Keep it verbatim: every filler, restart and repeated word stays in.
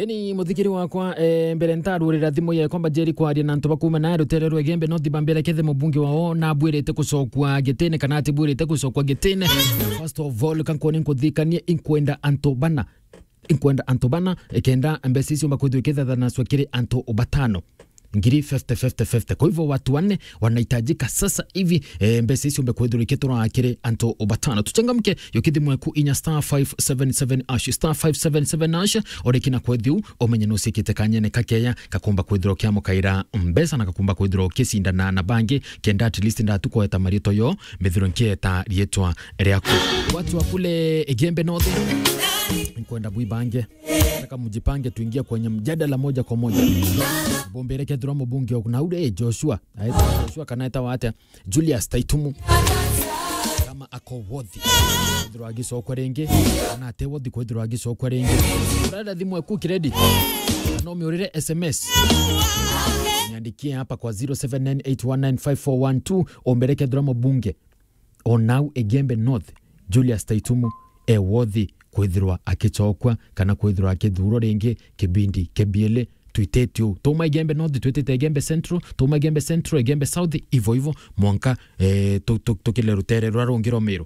Ni muthikiri wakwa, eh, mbere ntarurira thimu yekwa mbajeri kwaria na antu bakuma na rutere rwa Igembe North bambere kethe mubunge wao na bwirite gucokwa gitine kana ati bwirite gucokwa gitine. First of all, kankoni nkuthikanie inkwenda antu bana. Inkwenda antu bana, ikenda mbeca icio mbakwithirwa ikithathanaswa kiri antu batano. Ngiri fifty, fifty, fifty. Kwa hivyo watu wanne wanahitajika sasa hivi, eh, mbeca icio mbe kwithirwa ikitura kiri antu batano. Tuchangamke, yukithimwe ku inya star five seven seven hash, star five seven seven hash, orekina kwethiu, umenye nusikite kanyene kakeya, kakumba kwithirwa kiamukaira mbeca na kakumba kwithirwa ukicindana na bangi, kenda at least ndatukweta marito yo, mbithirwe nkieta rietwa riaku. Watu wa kule Igembe North, nkwenda bwibange. Nataka mjipange tuingie kwenye mjadala moja kwa moja. Bombere kethirwa mubunge wa na ule, eh, Joshua. Aitwa Joshua kana etawa atia? Julius Taitumu. Kama ako worthy kwithirwa agicokwa ringi, kana ate worthy kwithirwa agicokwa ringi. Urenda thimu eku credit. Kana umiurire S M S. Niandikie hapa kwa zero seven nine eight one nine five four one two, ombere kethirwa mubunge o nau Igembe North, Julius Taitumu, e worthy kwithirwa akicokwa kana kwithirwa akithurwa ringi kibindi kia biele. Twitite uu. Tuma Igembe North, twitite Igembe Central, tuma Igembe Central, Igembe South, ivo ivo, mwanka, eh, tu-, tu-, tukile rutere ruria rungi rwa Meru.